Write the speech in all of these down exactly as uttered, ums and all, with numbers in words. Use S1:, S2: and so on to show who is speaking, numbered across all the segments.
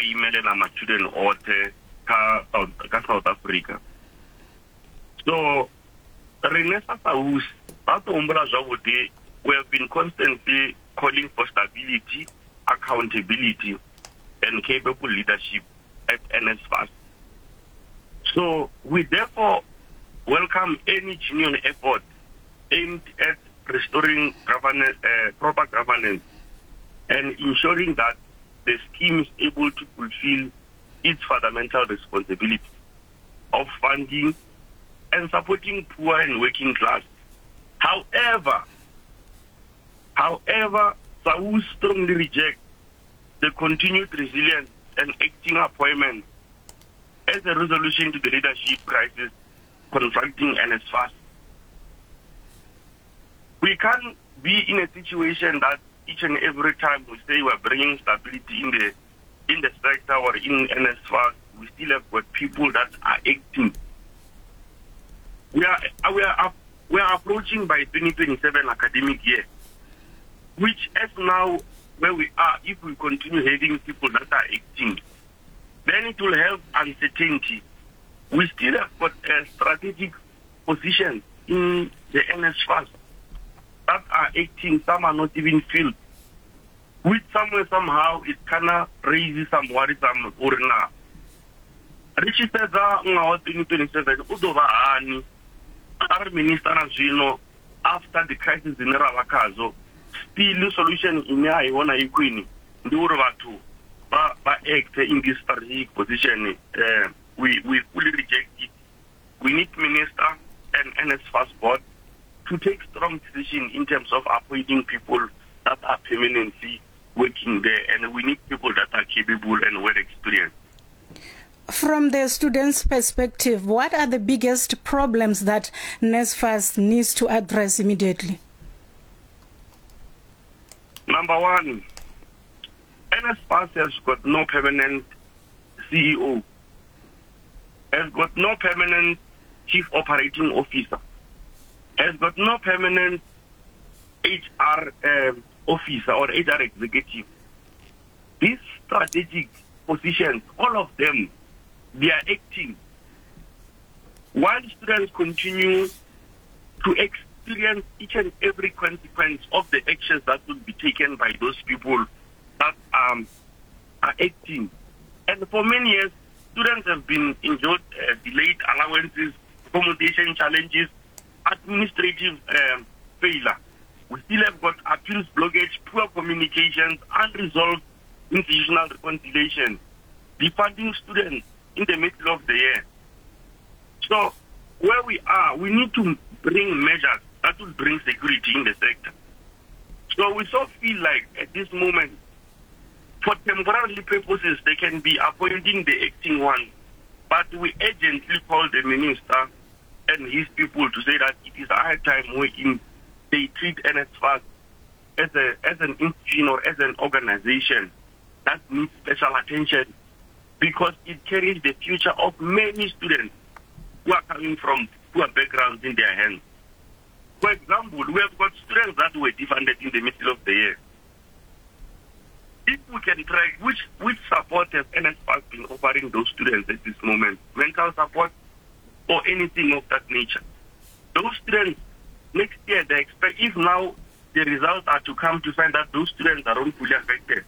S1: imelela matshudeni oṱhe kha kha South Africa. So rine sa SAUS vha to humbula zwavhuḓi, we have been constantly calling for stability, accountability and capable leadership at N S F A S. So we therefore welcome any genuine effort aimed at restoring governance, uh, proper governance and ensuring that the scheme is able to fulfill its fundamental responsibility of funding and supporting poor and working class. However, however, SAUS strongly rejects the continued resilience and acting appointment as a resolution to the leadership crisis confronting N S F A S. We can't be in a situation that each and every time we say we're bringing stability in the in the sector or in N S F A S, we still have got people that are acting. We are we are we are approaching by twenty twenty-seven academic year, which as now where we are, if we continue having people that are acting, then it will have uncertainty. We still have got a strategic position in the N S F A S that are acting, some are not even filled, which somewhere, somehow, it kind of raises some worries. Uri na ri tshi sedza ṅwaha wa twenty twenty-seven u ḓo vha hani arali minister na zwino after the crisis ine ra vha khadzo, still solution ine a i vhona i khwine ndi uri vhathu vha vha act in this strategic position. Uh, we, we fully reject it. We need minister and N S F A S board to take strong decision in terms of appointing people that are permanently working there, and we need people that are capable and well experienced.
S2: From the students' perspective, what are the biggest problems that N S F A S needs to address immediately?
S1: Number one, N S F A S has got no permanent C E O, has got no permanent chief operating officer, has got no permanent H R um, officer or H R executive. These strategic positions, all of them, they are acting. While students continue to experience each and every consequence of the actions that will be taken by those people that um, are acting. And for many years, students have been endured uh, delayed allowances, accommodation challenges, administrative um, failure. We still have got appeals blockage, poor communications, unresolved institutional reconciliation, defunding students in the middle of the year. So where we are, we need to bring measures that will bring security in the sector. So we so feel like at this moment, for temporary purposes, they can be appointing the acting one, but we urgently call the minister and his people to say that it is high time we in, they treat N S F A S as, a, as an institution or as an organization that needs special attention, because it carries the future of many students who are coming from poor backgrounds in their hands. For example, we have got students that were defunded in the middle of the year. If we can track which, which support has N S F A S been offering those students at this moment, mental support or anything of that nature. Those students, next year, they expect, if now the results are to come to find that those students are wrongfully affected,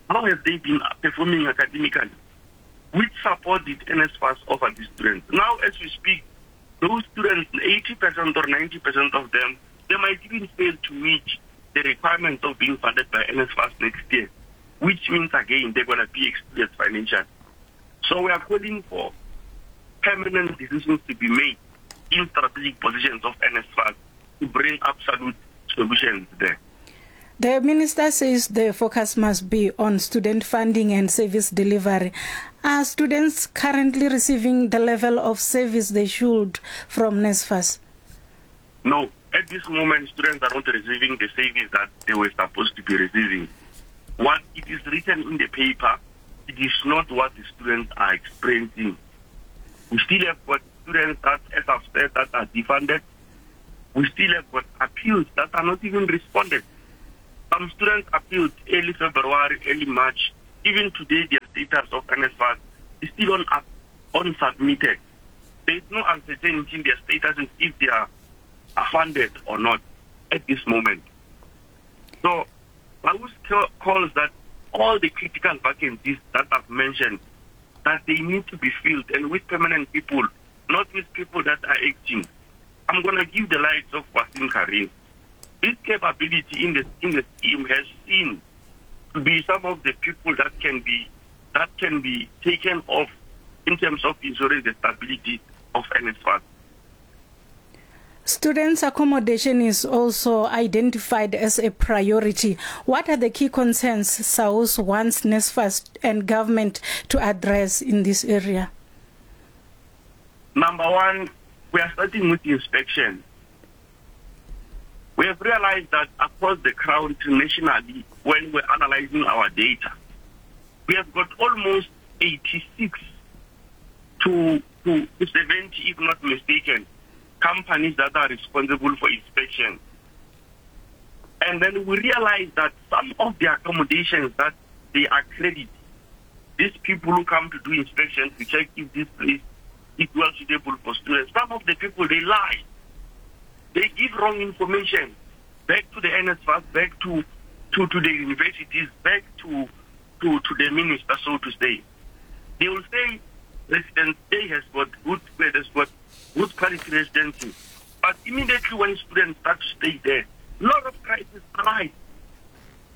S1: how have they been performing academically? Which support did N S F A S offer these students? Now, as we speak, those students, eighty percent or ninety percent of them, they might even fail to meet the requirements of being funded by N S F A S next year, which means, again, they're gonna be excluded financially. So we are calling for permanent decisions to be made in strategic positions of N S F A S to bring absolute solutions there.
S2: The minister says the focus must be on student funding and service delivery. Are students currently receiving the level of service they should from N S F A S?
S1: No. At this moment, students are not receiving the service that they were supposed to be receiving. What it is written in the paper, it is not what the students are experiencing. We still have got students that, as I've said, that are defunded. We still have got appeals that are not even responded. Some students appealed early February, early March. Even today, they are status of N S F A S is still on, unsubmitted. There is no uncertainty in their status if they are funded or not at this moment. So, B A W U S calls that all the critical vacancies that I've mentioned, that they need to be filled, and with permanent people, not with people that are acting. I'm gonna give the likes of Waseem Carrim. This capability in the in the scheme has seen to be some of the people that can be that can be taken off in terms of ensuring the stability of N S F A S.
S2: Students' accommodation is also identified as a priority. What are the key concerns S A U S wants N S F A S and government to address in this area?
S1: Number one, we are starting with inspection. We have realized that across the crown nationally, when we're analyzing our data, we have got almost eighty-six to, to seventy, if not mistaken, companies that are responsible for inspection. And then we realize that some of the accommodations that they accredit, these people who come to do inspection to check if this place is well suitable for students, some of the people, they lie. They give wrong information back to the N S F A S, back to, to, to the universities, back to, to, to the minister, so to say. They will say residence A has got good, has got good quality residency. But immediately when students start to stay there, a lot of crises arise.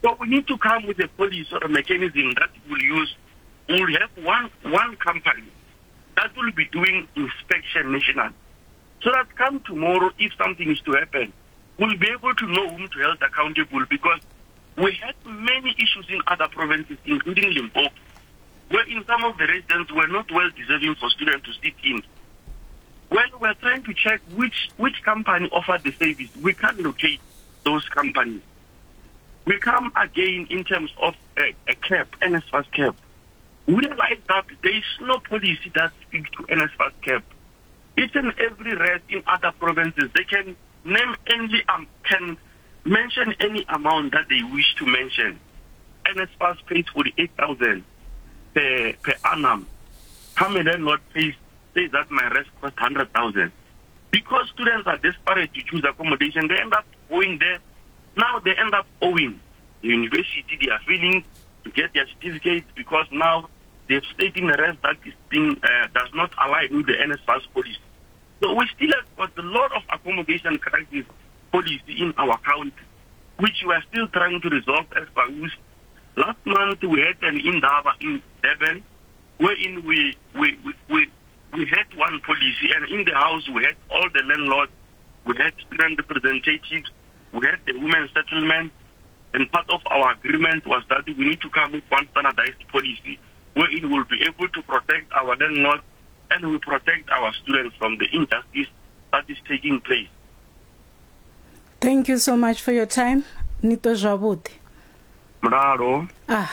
S1: So we need to come with a policy or a mechanism that will use, we'll have one, one company that will be doing inspection nationally. So that come tomorrow, if something is to happen, we'll be able to know whom to hold accountable, because we had many issues in other provinces, including Limpopo, where in some of the residents were not well deserving for students to sit in. When we're trying to check which, which company offered the service, we can't locate those companies. We come again in terms of a, a cap, N S F A S cap. We realize that there is no policy that speaks to N S F A S cap. Each and every rate in other provinces, they can name any, um, can mention any amount that they wish to mention. N S F A S pays forty-eight thousand per, per annum. How many landlord pays, says that my rent costs hundred thousand? Because students are desperate to choose accommodation, they end up going there. Now they end up owing the university. They are failing to get their certificates because now they've stayed in a rest that is being, uh, does not align with the N S F A S policy. So we still have got a lot of accommodation crisis policy in our country, which we are still trying to resolve as B A W U S. Last month we had an indaba in Durban, wherein we, we, we, we, we had one policy, and in the house we had all the landlords, we had student representatives, we had the women's settlement, and part of our agreement was that we need to come with one standardized policy wherein we'll be able to protect our landlords and we protect our students from the injustice that is taking place.
S2: Thank you so much for your time. Nito zwavhuḓi.
S1: Mulalo.
S2: Ah.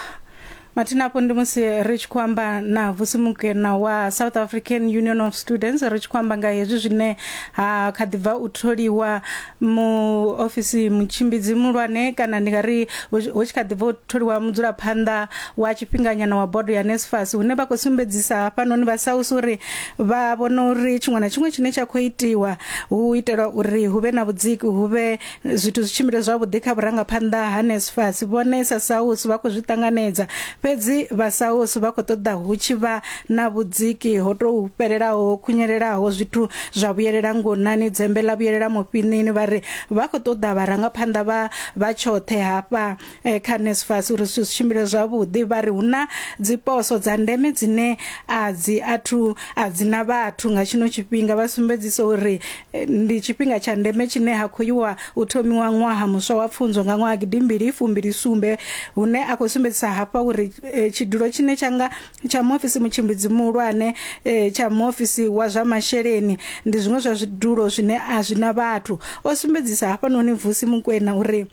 S2: Mathina afho ndi musi ri tshi khou amba na Vusi Mokoena wa South African Union of Students, ri tshi khou amba nga hezwi zwine ha kha ḓi bva u tholiwa muofisi mutshimbidzi muhulwane, kana ndi nga ri hu tshi kha ḓi bva u tholiwa mudzulaphanḓa wa tshifhinganyana wa bodo ya N S F A S, hune vha khou sumbedzisa hafhanoni vha S A U S uri vha vhona uri tshiṅwe na tshiṅwe tshine tsha khou itiwa hu itela uri hu vhe na vhudziki, hu vhe zwithu zwi tshimbile zwavhuḓi kha vhurangaphanḓa ha N S F A S. Vhone sa S A U S vha khou zwi ṱanganedza, fhedzi vha S A U S vha khou ṱoḓa hu tshi vha na vhudziki ho tou fhelelaho, khunyelelaho, zwithu zwa vhuyelela ngonani, dzembe ḽa vhuyelela mufhinini. Vha ri vha khou ṱoḓa vharangaphanḓa vha vha tshoṱhe hafha eh, kha N S F A S uri zwithu zwi tshimbile zwavhuḓi. Vha ri hu na dziposo dza ndeme dzine a dzi athu a dzi na vhathu nga tshino tshifhinga. Vha sumbedzisa uri eh, ndi tshifhinga tsha ndeme tshine ha khou yiwa u thomiwa ṅwaha muswa wa pfunzo nga ṅwaha gidimbili fumbili sumbe, hune a khou sumbedzisa hafha uri eh, tshidulo tshine tshanga tsha muofisi mutshimbidzi muhulwane, eh, tsha muofisi wa zwa masheleni, ndi zwiṅwe zwa zwidulo zwine a zwi na vhathu. O sumbedzisa hafhanoni Vusi Mokoena uri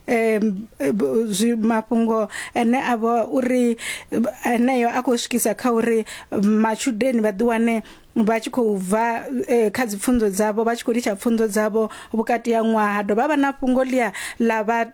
S2: em zwi mafhungo ene a vha uri eneyo a khou swikisa kha uri matshudeni vha ḓi wane vha tshi khou bva eh, kha dzipfunzo dzavho vha tshi khou litsha pfunzo dzavho vhukati ha ṅwaha. Dovha vha na fhungo ḽia ḽa vha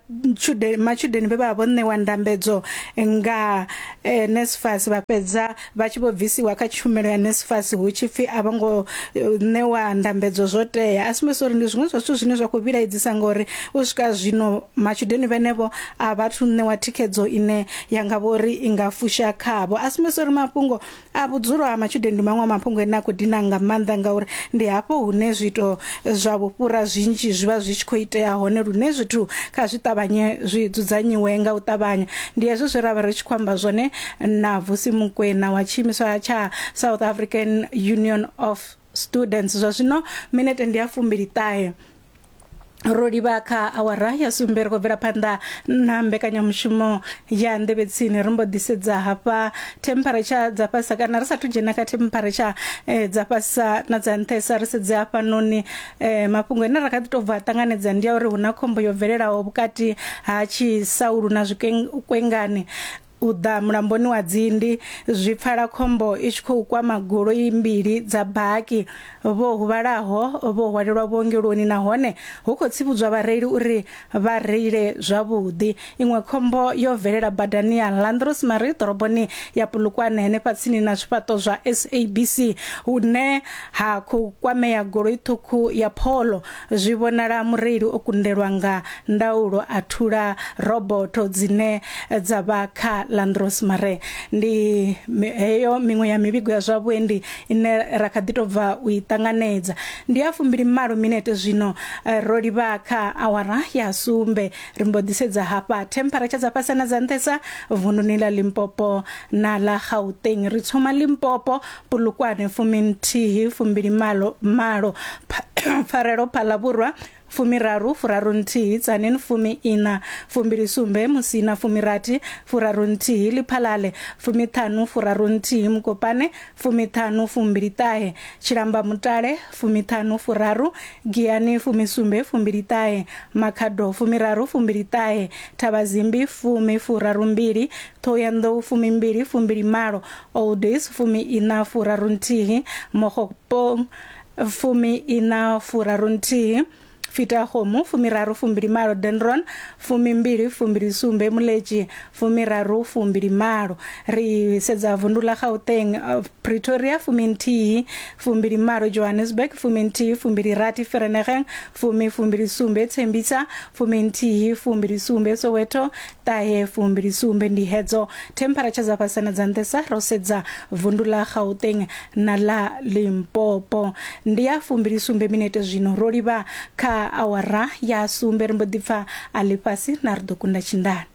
S2: matshudeni vhe vha vho ṋewa ndambedzo nga eh, NSFAS vha fhedza vha tshi vho bvisiwa kha tshumelo ya NSFAS hu tshi pfi a vho ngo ṋewa ndambedzo zwo tea. A sumbedza uri ndi zwiṅwe zwa zwithu zwine zwa khou vhilaedzisa ngori u swika zwino matshudeni vhenevho a vhathu ṋewa thikhedzo ine ya nga vhori i nga fusha khavho. A sumbedza uri mafhungo a vhudzulo ha matshudeni ndi maṅwe a mafhungo ane a khou dina nga maanḓa ngauri ndi hafho hune zwiito zwa vhufhura zwinzhi zwi vha zwi tshi khou itea hone, lune zwithu kha zwi ṱavhanye zwi dzudzanyiwe nga u ṱavhanya. Ndi hezwo zwe ra vha ri tshi khou amba zwone na Vusi Mukwena wa tshiimiswa tsha South African Union of Students. Zwa zwino minete ndi ya fumbili ṱahe ro livha kha awara ya sumbe. Ri khou bvela phanḓa na mbekanyamushumo ya nḓevhe tsini. Ri mbo ḓi sedza hafha temperature dza fhasa, kana ri sathu dzhena kha temperature eh, dza fhasa na dza nṱhesa, ri sedze hafhanoni eh, mafhungo ane ra kha ḓi tou bva ṱanganedza ndi ya uri hu na khombo yo bvelelaho vhukati ha Tshisaulu na Zwikwengani u ḓa mulamboni wa Dzindi. Zwi pfala khombo i tshi khou kwama goloi mbili dza baki. Vho huvhalaho vho hwalelwa vhuongeloni nahone hu khou tsivhudzwa vhareili uri vha reile zwavhuḓi. Iṅwe khombo yo bvelela badani ya Landros Marie ḓoroboni ya Polokwane henefha tsini na zwifhaṱo zwa S A B C hune ha khou kwamea goloi ṱhukhu ya Polo. Zwi vhonala mureili o kundelwa nga ndaulo a thula robotho dzine dza vha kha Landros Mare. Ndi heyo miṅwe ya mivhigo ya zwa vhuendi ine ra kha ḓi tou bva u i ṱanganedza. Ndi ya fumbili malo minete zwino ro livha kha awara ya sumbe. Ri mbo ḓi sedza hafha temperature dza fhasi na dza nṱhesa vunduni ḽa Limpopo na ḽa Gauteng. Ri thoma Limpopo, Polokwane fuminthihi fumbili malo malo, Pfarelo Phalavhurwa fumiraru furaru nthihi, Tzaneen fumi ina fumbili sumbe, Musina fumirathi furaru nthihi, Lephalale fumiṱhanu furaru nthihi, Mukopane fumiṱhanu fumbili ṱahe, Tshilamba Mutale fumiṱhanu furaru, Giyani fumisumbe fumbili ṱahe, Makhado fumiraru fumbili ṱahe, Thavhazimbi fumi furaru mbili, Thohoyandou fumimbili fumbili malo, Oldies fumi ina furaru nthihi, Mogopong fumi ina furaru nthihi, Fitahome fumiraru fumbili malo, Dendron fumimbili fumbili sumbe, Muleji fumiraru fumbili malo. Ri sedza vundu ḽa Gauteng, Pretoria fuminthihi fumbili malo, Johannesburg fuminthihi fumbili rathi, Vereeniging fumi fumbili sumbe, Tembisa fuminthihi fumbili sumbe, Soweto ṱahe fumbili sumbe. Ndi hedzo temperature dza fhasi na dza nṱhesa ro sedza vundu ḽa Gauteng na ḽa Limpopo. Ndi ya fumbili sumbe minete zwino ro livha kha awara ya sumbe. Ri mbo ḓi pfa a ḽifhasi na ri ḓo kunda tshindani.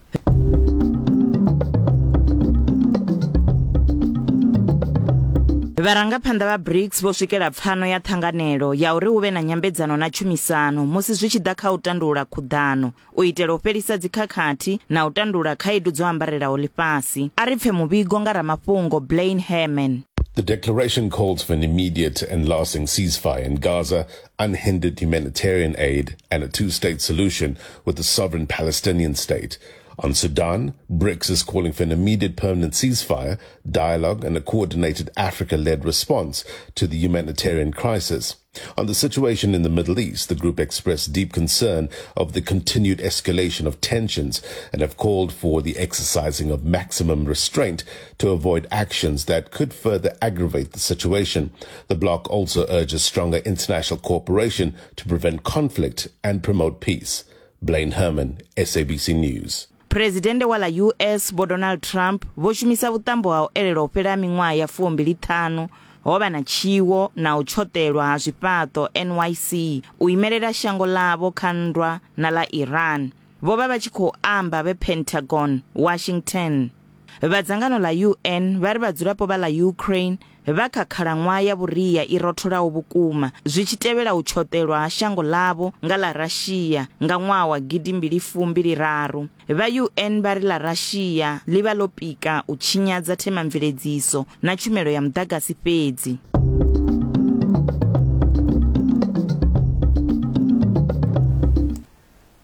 S3: Vharangaphanḓa vha BRICS vho swikela pfano ya ṱhanganelo ya uri hu vhe na nyambedzano na tshumisano musi zwi tshi ḓa kha u tandulula khuḓano u itela u fhelisa dzikhakhathi na u tandulula khaedu dzo ambarelaho ḽifhasi. A ri pfe muvhigo nga ramafhungo Blaine Herman.
S4: The declaration calls for an immediate and lasting ceasefire in Gaza, unhindered humanitarian aid, and a two-state solution with the sovereign Palestinian state. On Sudan, BRICS is calling for an immediate permanent ceasefire, dialogue, and a coordinated Africa-led response to the humanitarian crisis. On the situation in the Middle East, the group expressed deep concern of the continued escalation of tensions and have called for the exercising of maximum restraint to avoid actions that could further aggravate the situation. The bloc also urges stronger international cooperation to prevent conflict and promote peace. Blaine Herman, S A B C News.
S3: Presidente wa ḽa U S Vho Donald Trump vho shumisa vhuṱambo ha u elela u fhela miṅwaha ya fumbili ṱhanu ho vha na tshiwo na u tshoṱelwa ha zwifhaṱo N Y C u imelela shango ḽavho kha nndwa na ḽa Iran. Vho vha vha tshi khou amba vhe Pentagon, Washington. Vha dzangano ḽa U N vha ri vhadzulapo vha ḽa Ukraine vha kha khalaṅwaha ya vhuria i rotholaho vhukuma zwi tshi tevhela u tshoṱelwa ha shango ḽavho nga ḽa Russia nga ṅwaha wa gidi mbili fumbili raru. Vha U N vha ri ḽa Russia ḽi vha ḽo pika u tshinyadza themamveledziso na tshumelo ya muḓagasi fhedzi.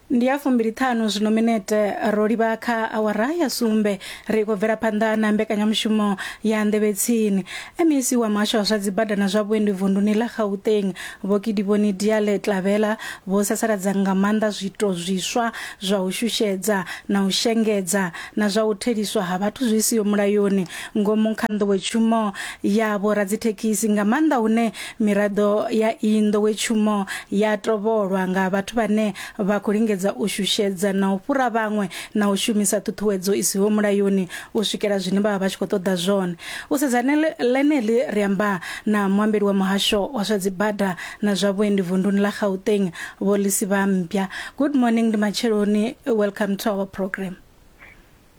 S2: Ndi Ndi ya fumbili ṱhanu zwino minete ro livha kha awara ya sumbe ri khou bvela phanḓa na mbekanyamushumo ya Nḓevhe Tsini. M E C wa muhasho wa zwa dzibada na zwa vhuendi vunduni ḽa Gauteng Vho Kedibone Diale Tlabela vho sasaladza nga maanḓa zwiito zwiswa zwa u shushedza na u shengedza na zwa u theliswa ha vhathu zwi siho mulayoni ngomu kha nḓowetshumo ya vhoradzithekhisi, nga maanḓa hune miraḓo ya iyi nḓowetshumo ya tovholwa nga vhathu vhane vha khou lingedza u shushedza na u fhura vhaṅwe na u shumisa ṱhuṱhuwedzo i siho mulayoni u swikela zwine vha vha vha tshi khou ṱoḓa zwone. U sedza ḽeneḽi ri amba na muambeli wa muhasho wa zwa dzibada na zwa vhuendi vunduni ḽa Gauteng Vho Lisiba Mpya. Good morning, ndi matsheloni. Welcome to our program.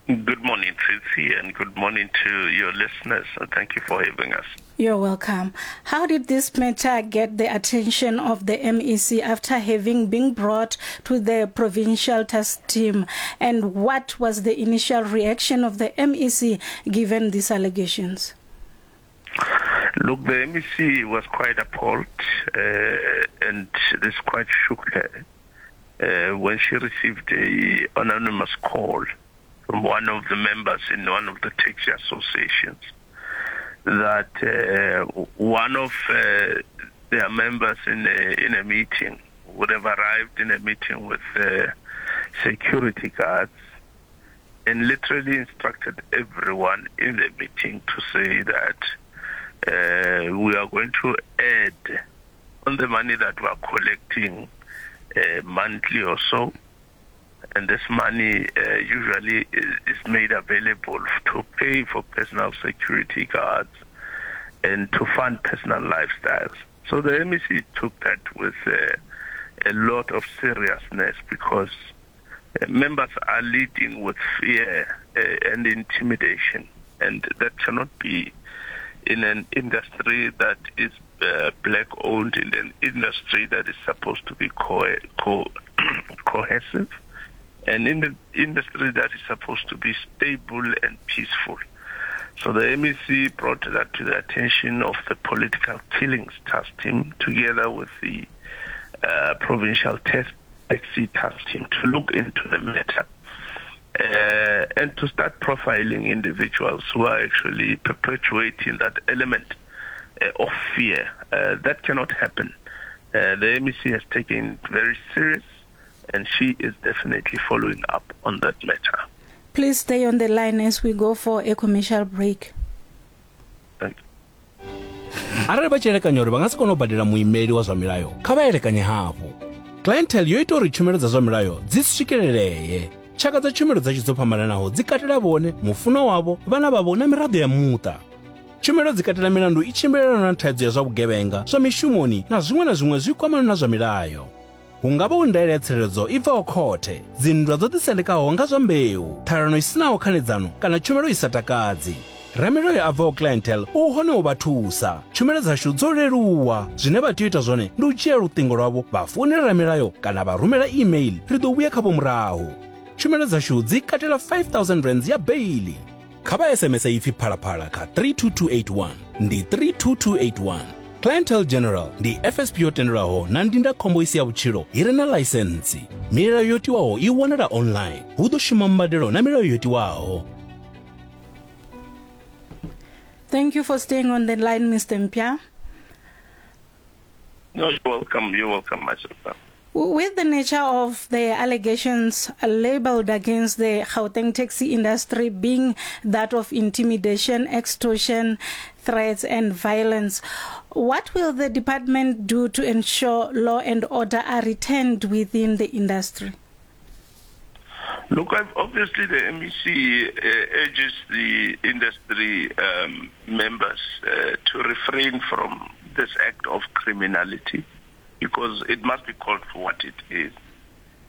S5: Good morning, Tsitsi, and good morning to your listeners. Thank you for having us.
S2: You're welcome. How did this matter get the attention of the M E C after having been brought to the provincial task team? And what was the initial reaction of the M E C given these allegations?
S5: Look, the M E C was quite appalled, uh, and this quite shook her uh, when she received an anonymous call from one of the members in one of the taxi associations that uh, one of uh, their members in a, in a meeting would have arrived in a meeting with uh, security guards and literally instructed everyone in the meeting to say that uh, we are going to add on the money that we are collecting uh, monthly or so, and this money uh, usually is, is made available to pay for personal security guards and to fund personal lifestyles. So the M E C took that with uh, a lot of seriousness, because uh, members are leading with fear uh, and intimidation, and that cannot be in an industry that is uh, black-owned, in an industry that is supposed to be co- co- cohesive, and in the industry that is supposed to be stable and peaceful. So the M E C brought that to the attention of the Political Killings Task Team, together with the uh, Provincial Taxi Task Team, to look into the matter uh, and to start profiling individuals who are actually perpetuating that element uh, of fear. Uh, that cannot happen. Uh, the M E C has taken it very serious, and she is definitely following up on that matter.
S2: Please stay on the line as we go for a commercial break.
S5: Thank you.
S6: Arali vha tshi elekanya uri vha nga si kone u badela muimeli wa zwa milayo, kha vha elekanye hafhu. Clientele yo ita uri tshumelo dza zwa milayo dzi swikelelee. Tshaka dza tshumelo dzashu dzo fhambananaho dzi katela vhone, mufunwa wavho, vhana vhavho na miraḓo ya muṱa. Tshumelo dzi katela milandu i tshimbilelanaho na thaidzo ya zwa vhugevhenga, zwa mishumoni na zwiṅwe na zwiṅwe zwi kwamanaho na zwa milayo. Hu nga vha hu ndaela ya tsireledzo i bvaho khothe, dzinndwa dzo ḓisendekaho nga zwa mbeu, ṱhalano i sinaho khanedzano kana tshumelo i sa takadzi. Ramilayo a bvaho Clientele u hone u vha thusa. Tshumelo dzashu dzo leluwa. Zwine vha tea u ita zwone ndi u dzhia luṱingo lwavho vha founela ramilayo kana vha rumela email, ri ḓo vhuya khavho murahu. Tshumelo dzashu dzi katela five thousand rands ya baili. Kha vha S M S ipfi Phalaphala kha three two two eight one, ndi three two two eight one. Clientele General ndi F S P yo tendelwaho na ndindakhombo isi ya vhutshilo i re na ḽaisentsi. Milayo yo tiwaho i wanala online. Hu ḓo shuma mbadelo na milayo yo tiwaho.
S2: Thank you for staying on the line, Mister Mpya.
S5: No, you're welcome. You're welcome, my sister.
S2: With the nature of the allegations labeled against the Gauteng taxi industry being that of intimidation, extortion, threats and violence, what will the department do to ensure law and order are retained within the industry?
S5: Look, I've, obviously the M E C uh, urges the industry um, members uh, to refrain from this act of criminality, because it must be called for what it is.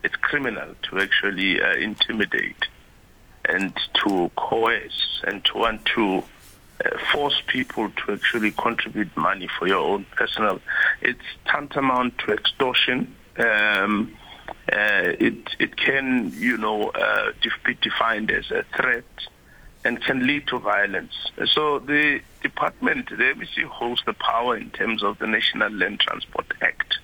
S5: It's criminal to actually uh, intimidate and to coerce and to want to uh, force people to actually contribute money for your own personal. It's tantamount to extortion. Um, uh, it it can, you know, uh, be defined as a threat and can lead to violence. So the department, the M E C, holds the power in terms of the National Land Transport Act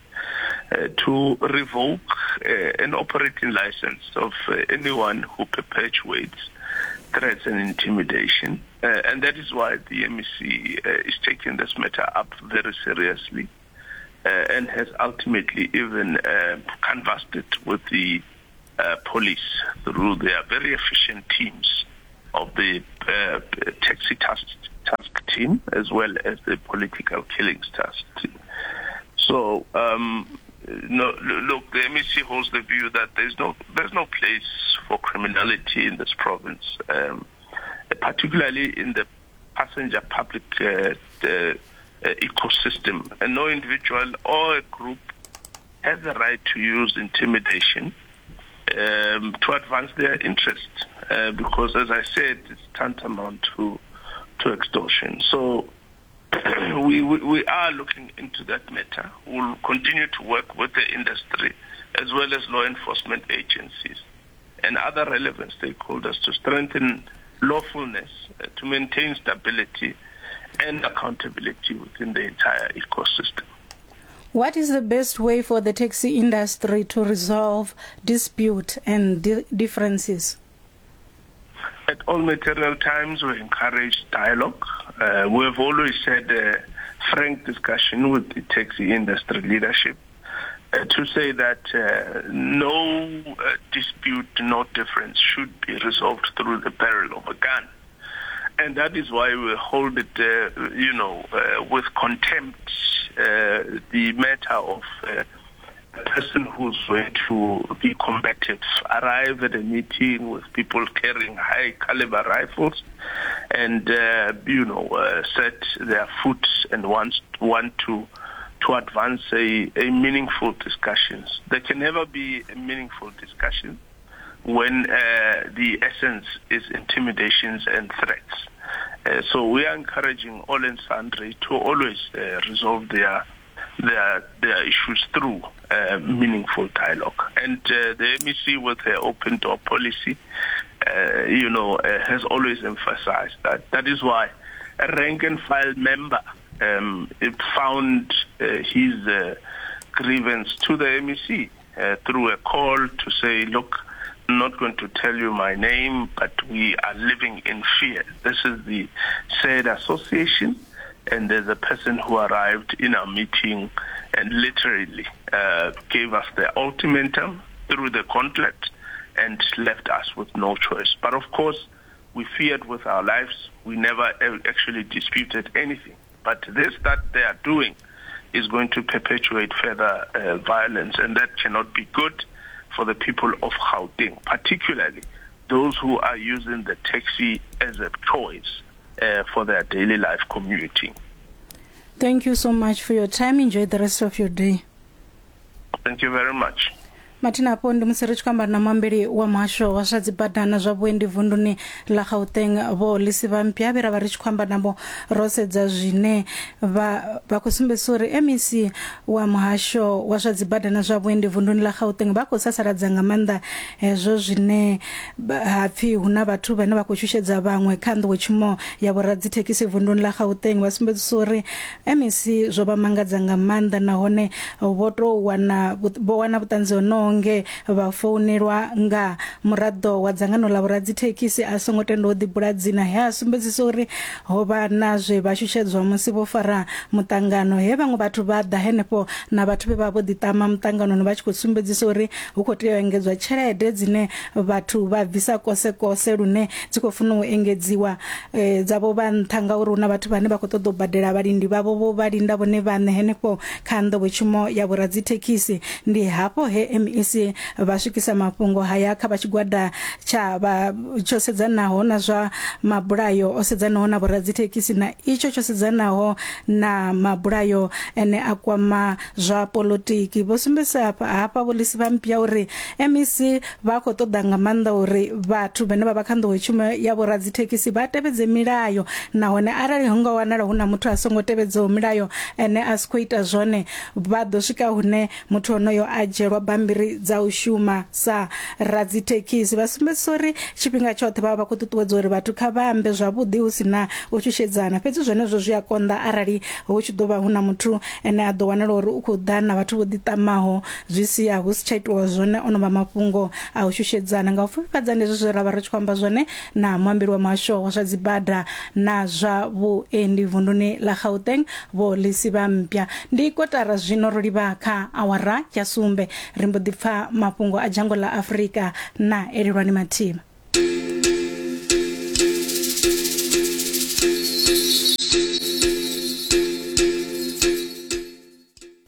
S5: uh, to revoke uh, an operating license of uh, anyone who perpetuates threats and intimidation. Uh, and that is why the M E C uh, is taking this matter up very seriously uh, and has ultimately even uh, canvassed it with the uh, police through their very efficient teams of the uh, taxi task, task team as well as the political killings task team. So, um, no, look, the M E C holds the view that there's no there's no place for criminality in this province, um, particularly in the passenger public uh, uh, ecosystem. And no individual or a group has the right to use intimidation um, to advance their interests, uh, because, as I said, it's tantamount to to extortion. So we, we we are looking into that matter. We'll continue to work with the industry as well as law enforcement agencies and other relevant stakeholders to strengthen lawfulness, uh, to maintain stability and accountability within the entire ecosystem.
S2: What is the best way for the taxi industry to resolve dispute and di- differences?
S5: At all material times, we encourage dialogue. Uh, we have always had a frank discussion with the taxi industry leadership uh, to say that uh, no uh, dispute, no difference should be resolved through the barrel of a gun. And that is why we hold it, uh, you know, uh, with contempt, uh, the matter of uh, a person who's going to be combative arrive at a meeting with people carrying high caliber rifles and, uh, you know, uh, set their foot and want, want to to advance a, a meaningful discussions. There can never be a meaningful discussion when uh, the essence is intimidations and threats. Uh, so we are encouraging all and sundry to always uh, resolve their their their issues through uh, meaningful dialogue. And uh, the M E C, with her open door policy, uh, you know, uh, has always emphasized that. That is why a rank and file member um, it found uh, his uh, grievance to the M E C uh, through a call to say, look, I'm not going to tell you my name, but we are living in fear. This is the said association, and there's a person who arrived in our meeting and literally uh, gave us the ultimatum through the gauntlet and left us with no choice. But of course, we feared with our lives. We never actually disputed anything. But this that they are doing is going to perpetuate further uh, violence, and that cannot be good for the people of Gauteng, particularly those who are using the taxi as a choice uh, for their daily life commuting.
S2: Thank you so much for your time. Enjoy the rest of your day.
S5: Thank you very much.
S2: Mathina afho ndi musi ri tshi khou amba na muambeli wa muhasho wa zwa dzibada na zwa vhuendi vunduni ḽa Gauteng Vho Lisiba Mpya, vhe ra vha ri tshi khou amba navho ro sedza zwine vha vha khou sumbedzisa uri M E C wa muhasho wa zwa dzibada na zwa vhuendi vunduni ḽa Gauteng vha khou sasaladza nga maanḓa hezwo zwine ha pfi hu na vhathu vhane vha khou shushedza vhaṅwe kha nḓowetshumo ya vhoradzithekhisi vunduni ḽa Gauteng. Vha sumbedzisa uri M E C zwo vha mangadza nga maanḓa nahone vho tou wana vho wana vhuṱanzi honoho nge vha founelwa nga muraḓo wa dzangano ḽa vhoradzithekhisi a songo tenda u ḓibula dzina, he a sumbedzisa uri ho vha na zwe vha shushedzwa musi vho fara muṱangano, he vhaṅwe vhathu vha ḓa henefho na vhathu vhe vha vho ḓiṱama muṱanganoni vha tshi khou sumbedzisa uri hu khou tea u engedzwa tshelede dzine vhathu vha bvisa kose kose lune dzi khou funa u engedziwa e, dzavho vha nṱha ngauri hu na vhathu vhane vha khou ṱoḓa u badela vhalindi vhavho vho vha linda vhone vhaṋe henefho kha nḓowetshumo ya vhoradzithekhisi. Ndi hafho he M E C vha swikisa mafhungo haya kha vha tshigwada tsha vha tsho sedzanaho na zwa mabulayo o sedzanaho na vhoradzithekhisi na itsho tsho sedzanaho na mabulayo ene a kwama zwa polotiki. Vho sumbedzisa hafha hafha Vho Lisiba Mpya uri M E C vha khou ṱoḓa nga maanḓa uri vhathu vhane vha vha kha nḓowetshumo ya vhoradzithekhisi vha tevhedze milayo, nahone arali hu nga wanala hu na muthu a songo tevhedzaho milayo ene a si khou ita zwone, vha ḓo swika hune muthu onoyo a dzhielwa bammbiri bammbiri dza u shuma sa radzithekhisi. Vha sumbedzisa uri tshifhinga tshoṱhe vha vha khou ṱuṱuwedza uri vhathu kha vha ambe zwavhuḓi hu sina u shushedzana, fhedzi zwenezwo zwi a konḓa arali hu tshi ḓo vha hu na muthu ene a ḓo wanala uri u khou ḓa na vhathu vho ḓiṱamaho, zwi sia hu si tsha itiwa zwone ono vha mafhungo a u shushedzana. Nga u pfufhifhadza ndi hezwi zwe ra vha ri tshi khou amba zwone na muambeli wa muhasho wa zwa dzibada na zwa vhuendi vunduni ḽa Gauteng Vho Lesiba Mpya. Ndi kotara zwino ro livha kha awara ya sumbe, ri mbo ḓi pfa mafhungo a dzhango ḽa Afrika na Elelwani Mathima.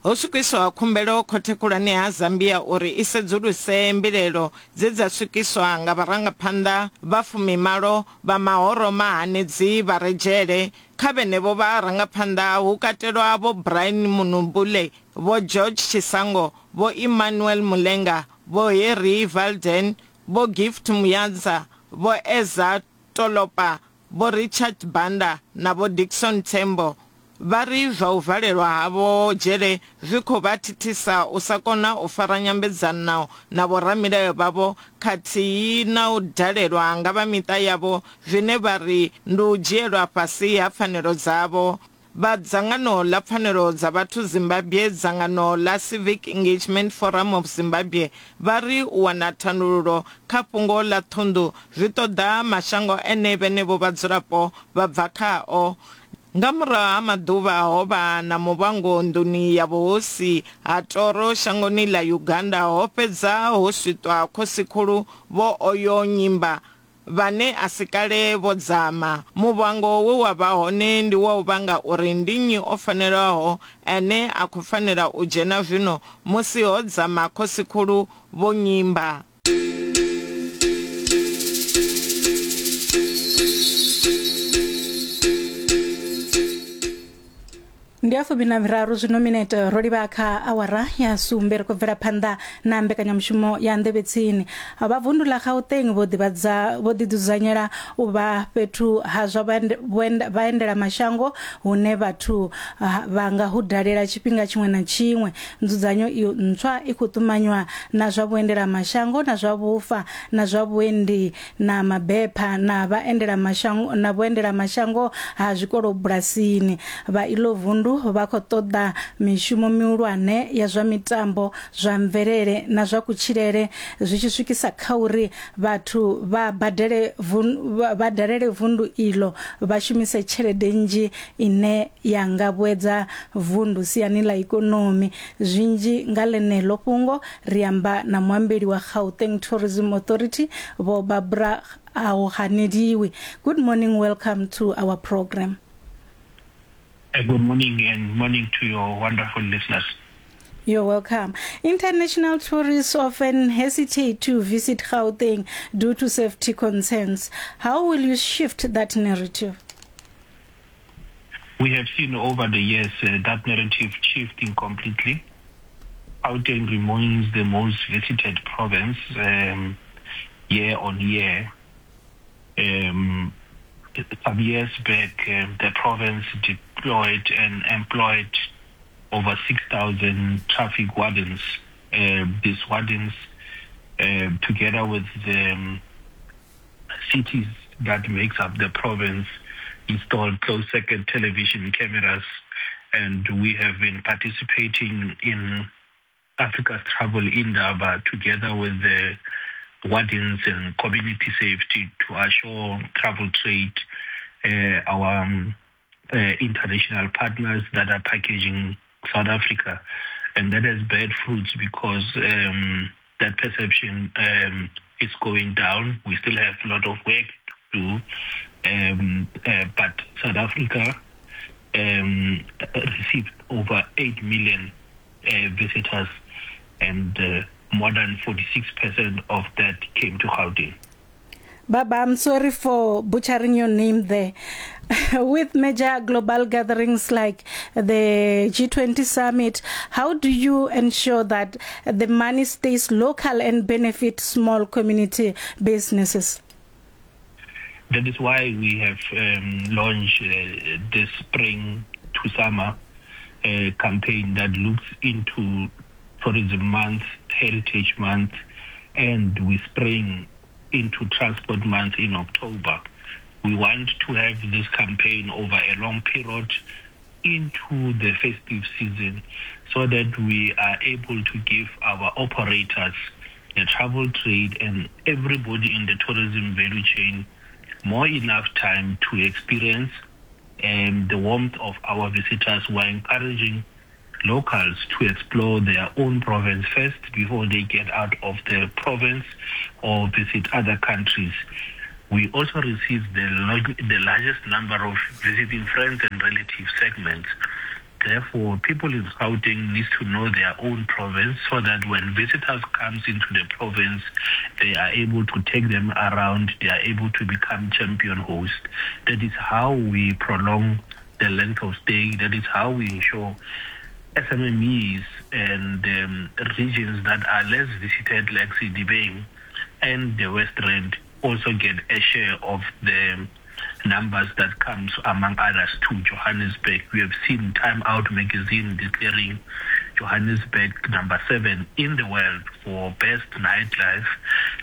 S7: Ho swikiswa khumbelo khothe khulwane ya Zambia uri i sedzuluse mbilelo dze dza swikiswa nga vharangaphanḓa vha fumimalo vha mahoro mahanedzi vha re dzhele. Kha vhenevho vharangaphanḓa hu katelwa Vho Brian Munumbule, Vho George Chisango, Vho Emmanuel Mulenga, Vho Harry Valden, Vho Gift Muyanza, Vho Eza Tolopa, Vho Richard Banda na Vho Dickson Tembo. Vha ri zwa u valelwa havho dzhele zwi khou vha thithisa u sa kona u fara nyambedzano na vhoramilayo vhavho khathihi na u dalelwa nga vha miṱa yavho, zwine vha ri ndi u dzhielwa fhasi ha pfanelo dzavho. Vha dzangano ḽa pfanelo dza vhathu Zimbabwe, dzangano ḽa Civic Engagement Forum of Zimbabwe, vha ri u wana thandululo kha fhungo ḽa ṱhunḓu zwi ṱoḓa mashango ene vhenevho vhadzulapo vha bva khao. Nga murahu ha maḓuvha ho vha na muvhango nḓuni ya vhuhosi ha Toro shangoni ḽa Uganda, ho fhedza ho swiṱwa khosikhulu Vho Oyo Nyimba vhane a si kale vho dzama. Muvhango we wa vha hone ndi wa u vhanga uri ndi nnyi o fanelaho ane a khou fanela u dzhena zwino musi ho dzama khosikhulu Vho Nyimba.
S2: Ndi a fumi na miraru zwino minete ro livha kha awara ya sumbe, ri khou bvela phanḓa na mbekanyamushumo ya Nḓevhe Tsini. Vha vundu ḽa Gauteng vho ḓivhadza vho ḓidzudzanyela u vha fhethu ha zwa vhaendela mashango hune vhathu vha nga hu dalela tshifhinga tshiṅwe na tshiṅwe. Nzudzanyo iyo ntswa i khou ṱumanywa na zwa vhuendela mashango na zwa vhufa na zwa vhuendi na mabepha na vhaendela mashango na vhuendela mashango ha zwikolo bulasini. Vha ilo vundu vha khou ṱoḓa mishumo mihulwane ya zwa mitambo, zwa mvelele na zwa kutshilele, zwi tshi swikisa kha uri vhathu vha badele vha dalele vundu ilo vha shumise tshelede nnzhi ine ya nga vhuedza vundu siani ḽa ikonomi. Zwinzhi nga ḽeneḽo fhungo ri amba na muambeli wa Gauteng Tourism Authority Vho Barbara Auhanediwe. Good morning, welcome to our program.
S8: Good morning, and morning to your wonderful listeners.
S2: You're welcome. International tourists often hesitate to visit Gauteng due to safety concerns. How will you shift that narrative?
S8: We have seen over the years uh, that narrative shifting completely. Gauteng remains the most visited province um, year on year. Um, some years back, um, the province deployed and employed over six thousand traffic wardens. Uh, these wardens, uh, together with the um, cities that makes up the province, installed closed-circuit television cameras, and we have been participating in Africa's Travel Indaba together with the wardens and community safety to assure travel trade, uh, our um, uh, international partners that are packaging South Africa. And that has bad fruits because um, that perception um, is going down. We still have a lot of work to do, um, uh, but South Africa um, received over eight million uh, visitors, and uh, more than forty-six percent of that came to Gauteng.
S2: Baba, I'm sorry for butchering your name there. With major global gatherings like the G twenty summit, how do you ensure that the money stays local and benefits small community businesses?
S8: That is why we have um, launched uh, this spring to summer uh, campaign that looks into Tourism Month Heritage Month, and we spring into Transport Month in October. We want to have this campaign over a long period into the festive season so that we are able to give our operators, the travel trade, and everybody in the tourism value chain more enough time to experience um, the warmth of our visitors. We're encouraging locals to explore their own province first before they get out of the province or visit other countries. We also receive the, log- the largest number of visiting friends and relative segments. Therefore, people in Gauteng need to know their own province so that when visitors comes into the province, they are able to take them around, they are able to become champion hosts. That is how we prolong the length of stay. That is how we ensure S M M Es and um, regions that are less visited, like Sedibeng and the West Rand, also get a share of the numbers that comes, among others, to Johannesburg. We have seen Time Out magazine declaring Johannesburg number seven in the world for best nightlife.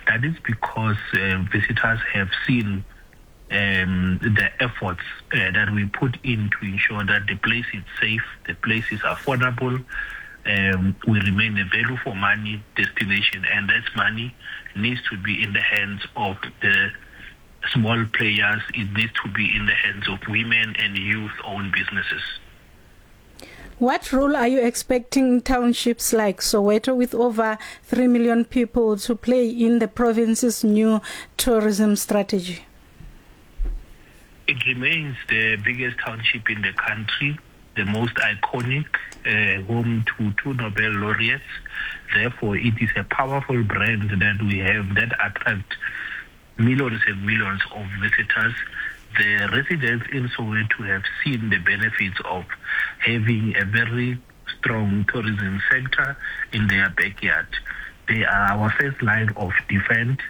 S8: That is because uh, visitors have seen um, the efforts uh, that we put in to ensure that the place is safe, the place is affordable, um, we remain a value for money destination, and that money needs to be in the hands of the small players. It needs to be in the hands of women and youth-owned businesses.
S2: What role are you expecting townships like Soweto, with over three million people, to play in the province's new tourism strategy?
S8: It remains the biggest township in the country, the most iconic, uh, home to two Nobel laureates. Therefore, it is a powerful brand that we have that attracts millions and millions of visitors. The residents in Soweto have seen the benefits of having a very strong tourism sector in their backyard. They are our first line of defense.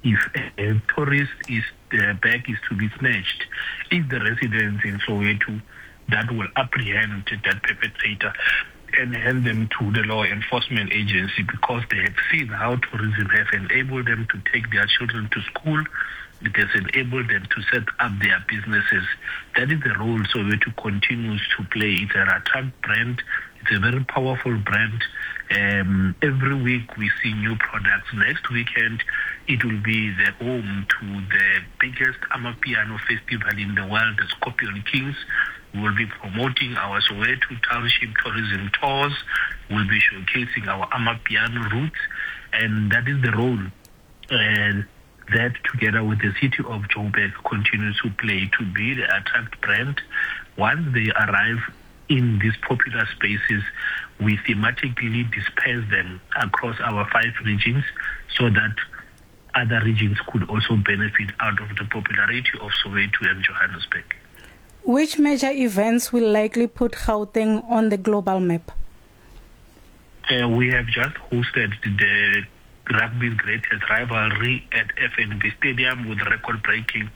S8: If a tourist is their bag is to be snatched, it's the residents in Soweto that will apprehend that perpetrator and hand them to the law enforcement agency, because they have seen how tourism has enabled them to take their children to school. It has enabled them to set up their businesses. That is the role Soweto continues to play. It's an attract brand. It's a very powerful brand. Um, every week we see new products. Next weekend, it will be the home to the biggest Amapiano festival in the world, the Scorpion Kings. We will be promoting our Soweto Township tourism tours. We'll be showcasing our Amapiano roots, and that is the role uh, that, together with the city of Joburg, continues to play to be the attract brand. Once they arrive in these popular spaces, we thematically disperse them across our five regions so that other regions could also benefit out of the popularity of Soweto and Johannesburg.
S2: Which major events will likely put Gauteng on the global map?
S8: Uh, we have just hosted the rugby's greatest rivalry at F N B Stadium with record-breaking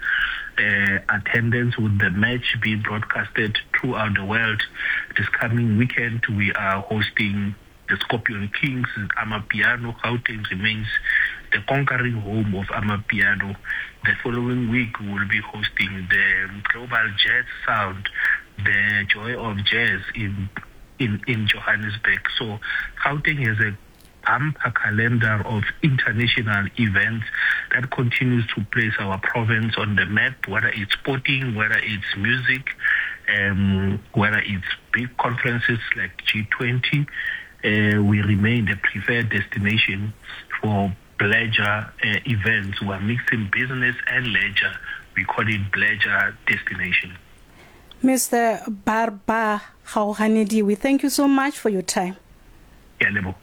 S8: uh, attendance, with the match being broadcasted throughout the world. This coming weekend, we are hosting the Scorpion Kings, Amapiano. Gauteng remains the conquering home of Amapiano. The following week, we will be hosting the Global Jazz Sound, the Joy of Jazz in in, in Johannesburg. So Gauteng has a bumper calendar of international events that continues to place our province on the map, whether it's sporting, whether it's music, um, whether it's big conferences like G twenty. Uh, we remain the preferred destination for pleasure uh, events. We are mixing business and leisure. We call it pleasure destination.
S2: Mister Barba Gaoganediwe, we thank you so much for your time.
S8: Yeah, lebo.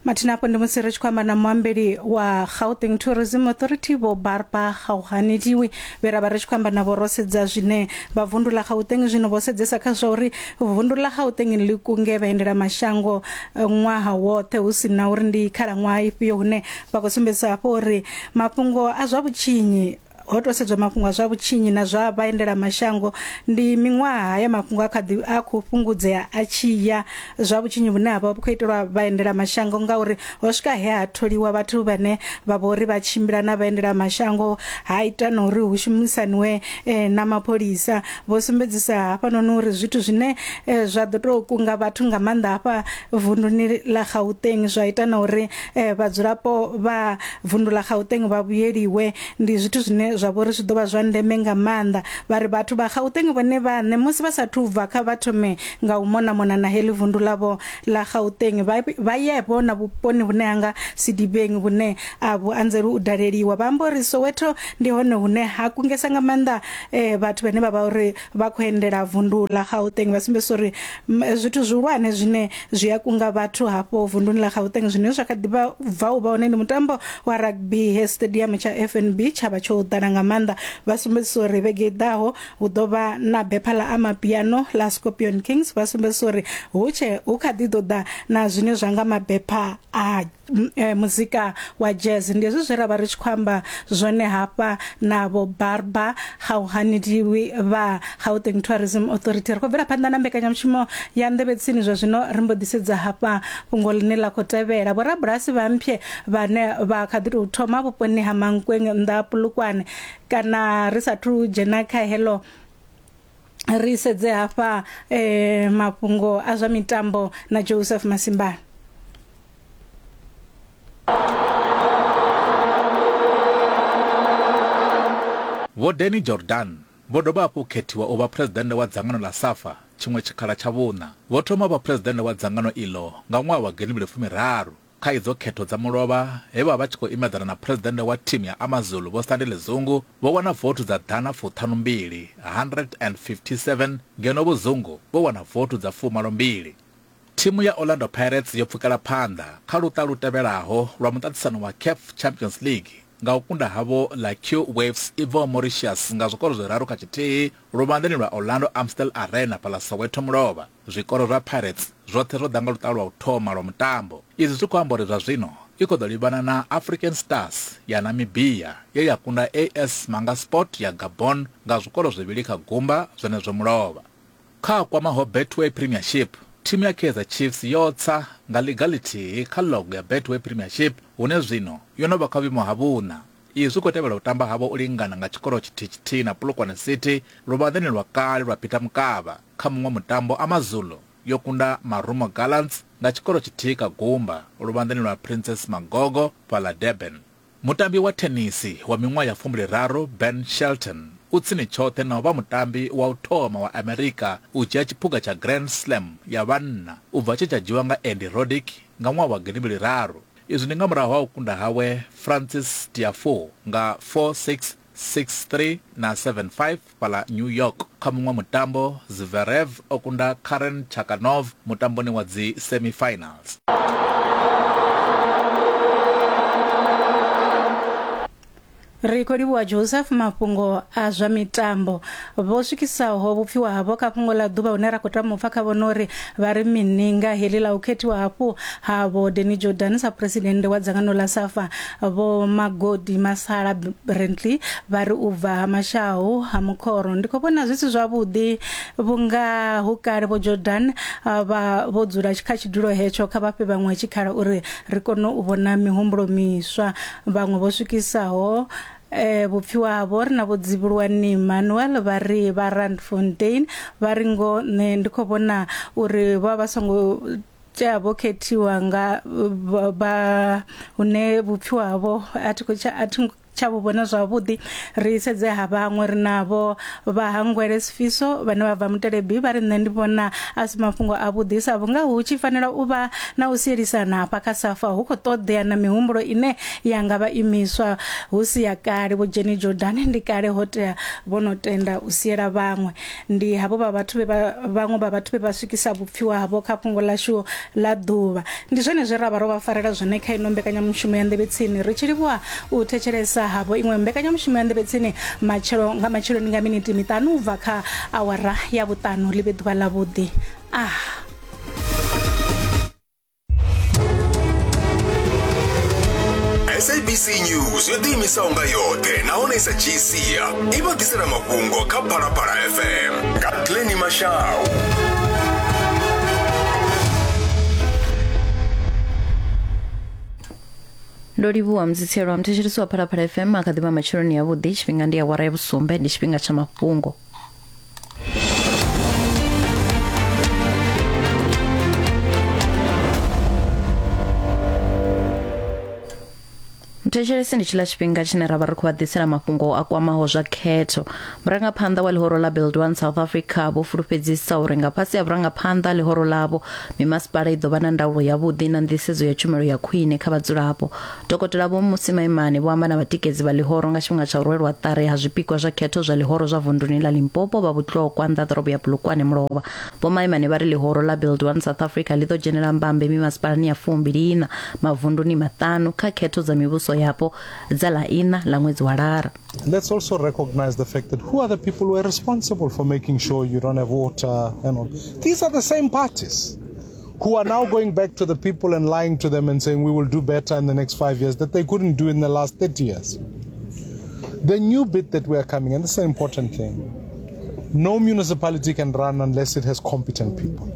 S2: Mathina apo ndi musi ri tshi khou amba na muambeli wa Gauteng Tourism Authority Vho Barba Gaoganediwe, vhe ra vha ri tshi khou amba navho ro sedza zwine vha vundu ḽa Gauteng zwino vho sedzesa kha zwa uri vundu ḽa Gauteng ḽi kunge vhaendela mashango ṅwaha woṱhe, hu si na uri ndi khalaṅwaha ifhio, hune vha khou sumbedzisa hafho uri mafhungo a zwa vhutshinyi ho to sedzwa mafhungo a zwa vhutshinyi na zwa vhaendela mashango ndi miṅwaha ya mafhungo a kha ḓi a khou fhungudzea a tshi ya zwa vhutshinyi vhune ha vha vhu khou itelwa vhaendela mashango ngauri ho swika he ha tholiwa vhathu vhane vha vho ri vha tshimbila na vhaendela mashango ha ita na uri hu shumisaniwe eh, na mapholisa. Vho sumbedzisa hafhanoni uri zwithu zwine eh, zwa ḓo tou kunga vhathu nga maanḓa hafha vunduni ḽa Gauteng zwa ita na uri eh, vhadzulapo vha vundu ḽa Gauteng vha vhuyeliwe ndi zwithu zwine zwa vho ri zwi ḓo vha zwa ndeme nga maanḓa. Vha ri vhathu vha Gauteng vhone vhaṋe musi vha sathu bva kha vha thome nga u mona mona na heḽi vundu ḽavho ḽa Gauteng vha ye vhona vhuponi vhune hanga Sidibeng vhune a vhu anzeli u daleliwa. Vha amba uri Soweto ndi hone hune ha kungesa nga maanḓa eh, vhathu vhane vha vha uri vha khou endela vundu ḽa Gauteng. Vha sumbedzisa uri zwithu zwihulwane zwine zwi a kunga vhathu hafho vunduni ḽa Gauteng zwine zwa kha ḓi bva u vha hone ndi mutambo wa rugby he stadium tsha F N B tsha vha tsho ḓala nga maanḓa. Vha sumbedzisa uri vhege i ḓaho hu ḓo vha na bepha ḽa amapiano ḽa Scorpion Kings. Vha sumbedzisa uri hu tshe hu kha ḓi ḓo ḓa na zwine zwa nga mabepha a e, muzika wa jazz. Ndi hezwi zwe ra vha ri tshi khou amba zwone hafha na vho Barba Gauhanidiwi vha Gauteng Tourism Authority. Ri khou bvela phanḓa na mbekanyamushumo ya Nḓevhe Tsini zwa zwino ri mbo ḓi sedza hafha fhungo ḽine ḽa khou tevhela. Vhorabulasi vha mphe vhane vha kha ḓi tou thoma vhuponi ha Mankweng nnḓa ha Polokwane kana ri sathu dzhena kha heḽo ri sedze hafha eh, mafhungo a zwa mitambo na Joseph Masimbana.
S9: Vho Danny Jordan vho dovha hafhu khethiwa u vha presidennde wa dzangano ḽa SAFA tshiṅwe tshikhala tsha vhuṋa. Vho thoma vha presidennde wa dzangano iḽo nga ṅwaha wa gidi fumi raru kha idzo khetho dza mulovha he vha vha tshi khou imedzana na presidennde wa thimu ya AmaZulu Vho Sandile Zungu vho wana vothu dza ḓana fuṱhanu mbili one fifty seven ngeno Vho Zungu vho wana vothu dza fumalo mbili. Thimu ya Orlando Pirates yo pfukela phanḓa kha luṱa lu tevhelaho lwa muṱaṱisano wa CAF Champions League nga u kunda havho ḽa Q Waves i bvaho Mauritius nga zwikoro zwiraru kha tshithihi luvhanḓeni lwa Orlando Amstel Arena fhaḽa Soweto mulovha. Zwikoro zwa Pirates zwoṱhe zwo ḓa nga luṱa lwa u thoma lwa mutambo. Izwi zwi khou amba uri zwa zwino i khou ḓo livhana na African Stars ya Namibia ye ya kunda A S Manga Sport ya Gabon nga zwikoro zwivhili kha gumba zwenezwo mulovha. Kha kwamaho Betway Premiership, thimu ya Kaizer Chiefs yo tsa nga ḽiga ḽithihi kha logo ya Betway Premiership hune zwino yo no vha kha vhuimo ha vhuṋa. Izwi khou tevhela u tamba havho u lingana nga tshikoro tshithihi tshithihi na Polokwane City luvhanḓeni lwa kale lwa Peter Mokaba. Kha muṅwe mutambo AmaZulu yo kunda Marumo Gallants nga tshikoro tshithihi kha gumba luvhanḓeni lwa Princess Magogo fhaḽa Durban. Mutambi wa thenisi wa miṅwaha ya fumbili raru Ben Shelton u tsini tshoṱhe na u vha mutambi wa u thoma wa Amerika u dzhia tshiphuga tsha Grand Slam ya vhanna u bva tshe tsha dzhiwa nga Andy Roddick nga ṅwaha wa gidi mbili raru. Izwi ndi nga murahu ha u kunda hawe Francis Tiafoe nga four six, six three na seven five fhaḽa New York. Kha muṅwe mutambo Zverev o kunda Karen Chakanov mutamboni wa dzi semi-finals.
S2: Ri khou livhuwa Joseph mafhungo a zwa mitambo. Vho swikisaho vhupfiwa havho kha fhungo ḽa ḓuvha hune ra khou tama u pfa kha vhona uri vha ri mini nga heḽi ḽa u khethiwa hafhu ha Vho Danny Jordan sa presidennde wa dzangano ḽa SAFA. Vho Magodi Masala Brentley vha ri u bva ha Mashahu ha Mukhoro ndi khou vhona zwi si zwavhuḓi vhunga hu kale Vho Jordan vha vho dzula kha tshidulo hetsho, kha vha fhe vhaṅwe tshikhala uri ri kone u vhona mihumbulo miswa. Vhaṅwe vho swikisaho eh vhupfiwa havho ri na Vho Dzivhuluwani Manuel vha ri vha Randfontein vha ri ngo nṋe ndi khou vhona uri vha vha songo tea vho khethiwa nga vha hune vhupfiwa havho a thi khou a thi tsha vhu vhona zwavhuḓi. Ri sedze ha vhaṅwe ri navho vha Hangwele Sifiso vhane vha bva Mutelebi vha ri nṋe ndi vhona a si mafhungo a vhuḓi sa vhunga hu tshi fanela u vha na u sielisana hafha kha SAFA hu khou ṱoḓea na mihumbulo ine ya nga vha imiswa hu si ya kale. Vho Jenny Jordan ndi kale ho tea vho no tenda u siela vhaṅwe. Ndi havho vha vhathu vhe vhaṅwe vha vhathu vhe vha swikisa vhupfiwa havho kha fhungo ḽashu ḽa ḓuvha. Ndi zwone zwe ra vha ro vha farela zwone kha ino mbekanyamushumo ya Nḓevhe Tsini. Ri tshi livhuwa u thetshelesa havho iṅwe mbekanyamushumo ya Nḓevhe Tsini matshelo nga matsheloni nga miniti miṱanu u bva kha awara ya vhuṱanu. Ḽi vhe ḓuvha ḽavhuḓi. Ah.
S10: S A B C News yo ḓiimisaho nga yoṱhe nahone i sa dzhii sia i vha ḓisela mafhungo kha Phalaphala F M nga Glenny Mashau.
S11: Ndo livhuwa mzitshelo mthetshelesi wa Phalaphala F M akha ḓivha matsheloni ya vhuḓi tshifhinga ndi awara ya vhusumbe ndi tshifhinga tsha mafhungo. Mthetshelesi ndi tshila tshifhinga tshine ra vha ri khou vha ḓisela mafhungo a kwamaho zwa khetho. Murangaphanḓa wa ḽihoro ḽa Build One South Africa vho fulufhedzisa uri nga fhasi ha vhurangaphanḓa ḽihoro ḽavho mimasipala i ḓo vha na ndaulo yavhuḓi na nḓisedzo ya tshumelo ya khwine kha vhadzulapo. Dokotela Vho Mmusi Maimane vho amba na vhatikedzi vha ḽihoro nga tshifhinga tsha u rwelwa ṱari ha zwipikwa zwa khetho zwa ḽihoro zwa vunduni ḽa Limpopo vha Vhutlokwa nnḓa ḓorobo ya Polokwane mulovha. Vho Maimane vha ri ḽihoro ḽa Build One South Africa ḽi ḓo dzhenela mbambe mimasipalani ya fumbili ina mavunduni maṱanu kha khetho dza mivhuso yapo dza ḽa ina ḽa ṅwedzi wa Lara.
S12: Let's also recognize the fact that who are the people who are responsible for making sure you don't have water and all. These are the same parties who are now going back to the people and lying to them and saying we will do better in the next five years that they couldn't do in the last thirty years. The new bit that we are coming, and this is an important thing, no municipality can run unless it has competent people.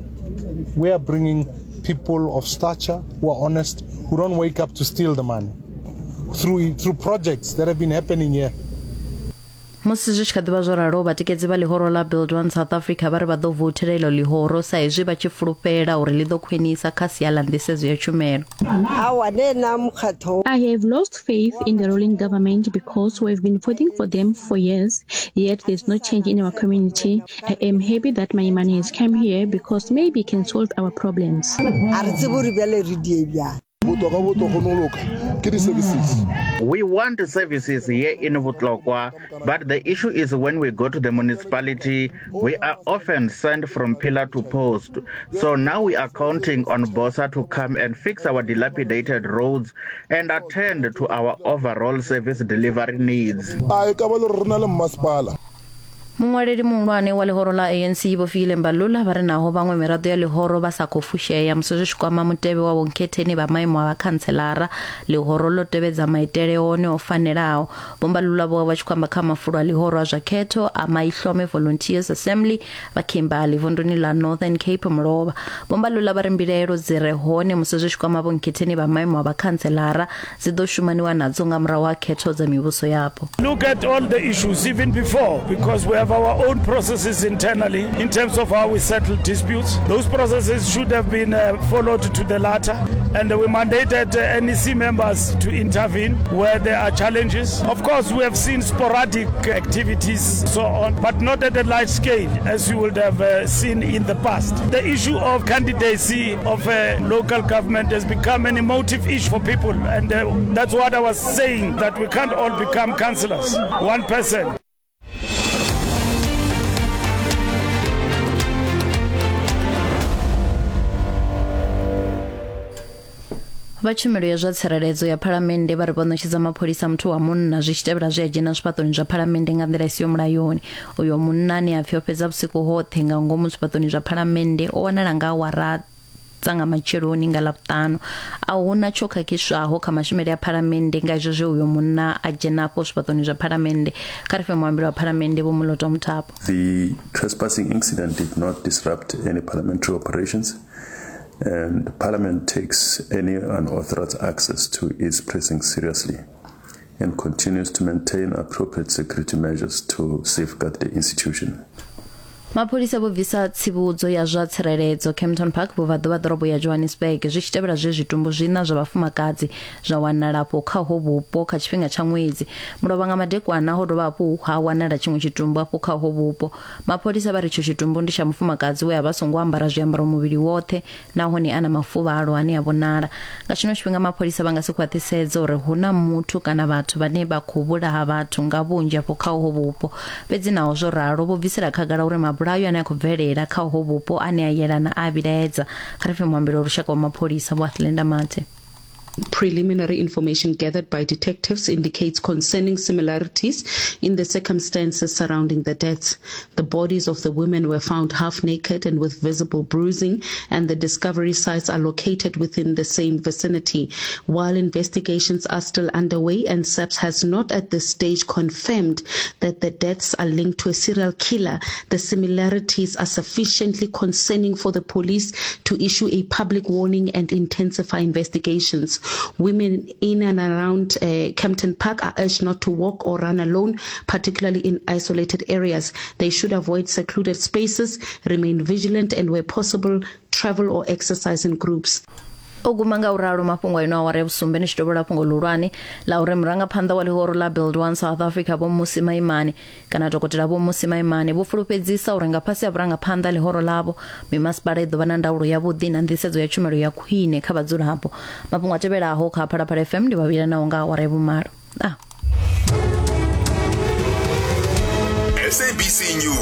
S12: We are bringing people of stature who are honest, who don't wake up to steal the money through through projects that have been happening here.
S11: Musi zwi tshi kha ḓivha zwo ralo, vhatikedzi vha ḽihoro ḽa Build One South Africa vha ri vha ḓo voutela iḽo ḽihoro sa izwi vha tshi fulufhela uri ḽi ḓo khwinisa kha sia ḽa nḓisedzo ya tshumelo.
S13: I have lost faith in the ruling government because we have been voting for them for years, yet there's no change in our community. I am happy that my money has come here because maybe it can solve our problems.
S14: We want services here in Vutlokwa, but the issue is when we go to the municipality, we are often sent from pillar to post. So now we are counting on BOSA to come and fix our dilapidated roads and attend to our overall service delivery needs.
S11: Muṅwaleli muhulwane wa ḽihoro ḽa A N C Vho Fikile Mbalula vha ri naho vhaṅwe miraḓo ya ḽihoro vha sa khou fushea musi zwi tshi kwama mutevhe wa vhonkhetheni vha maimo a vhakhantselara, ḽihoro ḽo tevhedza maitele one o fanelaho. Vho Mbalula vho vha tshi khou amba kha mafulo a ḽihoro a zwa khetho a Maihlome Volunteers Assembly vha Kimberley vunduni ḽa Northern Cape mulovha. Vho Mbalula vha ri mbilaelo dzi re hone musi zwi tshi kwama vhonkhetheni vha maimo a vhakhantselara dzi ḓo shumaniwa nadzo nga murahu ha khetho dza mivhuso yapo.
S15: Look at all the issues even before, because we have our own processes internally in terms of how we settle disputes. Those processes should have been uh, followed to the latter, and we mandated uh, N E C members to intervene where there are challenges. Of course, we have seen sporadic activities, so on, but not at a large scale as you would have uh, seen in the past. The issue of candidacy of a local government has become an emotive issue for people, and uh, that's what I was saying, that we can't all become councillors, one person.
S11: Vha tshumelo ya zwa tsireledzo ya Phalamennde vha ri vho ṋetshedza mapholisa muthu wa munna zwi tshi tevhela zwi a dzhena zwifhaṱoni zwa Phalamennde nga nḓila i siho mulayoni. Uyo munna ane a pfi o fhedza vhusiku hoṱhe nga ngomu zwifhaṱoni zwa Phalamennde o wanala nga awara dza nga matsheloni nga Ḽavhuṱanu. A huna tsho khakhiswaho kha mashumele a Phalamennde nga izwo zwe uyo munna a dzhena afho zwifhaṱoni zwa Phalamennde. Kha ri fhe muambeli wa Phalamennde Vho Moloto Muthapo.
S16: The trespassing incident did not disrupt any parliamentary operations, and the Parliament takes any unauthorized access to its precincts seriously and continues to maintain appropriate security measures to safeguard the institution.
S11: Mapholisa vho bvisa tsivhudzo ya zwa tsireledzo Kempton Park vhubvaḓuvha ḓorobo ya Johannesburg zwi tshi tevhela zwe zwitumbu zwiṋa zwa vhafumakadzi zwa wanala afho kha ho vhupo kha tshifhinga tsha ṅwedzi. Mulovha nga madekwana ho dovha hafhu ha wanala tshiṅwe tshitumbu afho kha ho vhupo. Mapholisa vha ri tsho tshitumbu ndi tsha mufumakadzi we a vha songo ambara zwiambaro muvhili woṱhe nahone a na mafuvhalo ane a vhonala. Nga tshino tshifhinga mapholisa vha nga si khwaṱhisedza uri hu na muthu kana vhathu vhane vha khou vhulaha vhathu nga vhunzhi afho kha ho vhupo. Fhedzi naho zwo ralo vho bvisela khagala uri mabulayo ane a khou bvelela kha ho vhupo ane a yelana a vhilaedza. Kha ri fhe muambeli wa lushaka wa mapholisa Vho Athlenda Mathe.
S17: Preliminary information gathered by detectives indicates concerning similarities in the circumstances surrounding the deaths. The bodies of the women were found half naked and with visible bruising, and the discovery sites are located within the same vicinity. While investigations are still underway and S A P S has not at this stage confirmed that the deaths are linked to a serial killer, the similarities are sufficiently concerning for the police to issue a public warning and intensify investigations. Women in and around uh, Kempton Park are urged not to walk or run alone, particularly in isolated areas. They should avoid secluded spaces, remain vigilant, and where possible, travel or exercise in groups.
S11: O guma nga uralo mafhungo a ino awara ya vhusumbe ni tshi tovhola fhungo ḽihulwane ḽa uri murangaphanḓa wa ḽihoro ḽa Build One South Africa Vho Mmusi Maimane kana dokotela Vho Mmusi Maimane vho fulufhedzisa uri nga fhasi ha vhurangaphanḓa ḽihoro ḽavho mimasipala i ḓo vha na ndaulo yavhuḓi na nḓisedzo ya tshumelo ya khwine kha vhadzulapo. Mafhungo a tevhelaho kha Phalaphala F M ndi vhavhila naho nga awara ya vhumalo. Ah.
S10: S A B C News.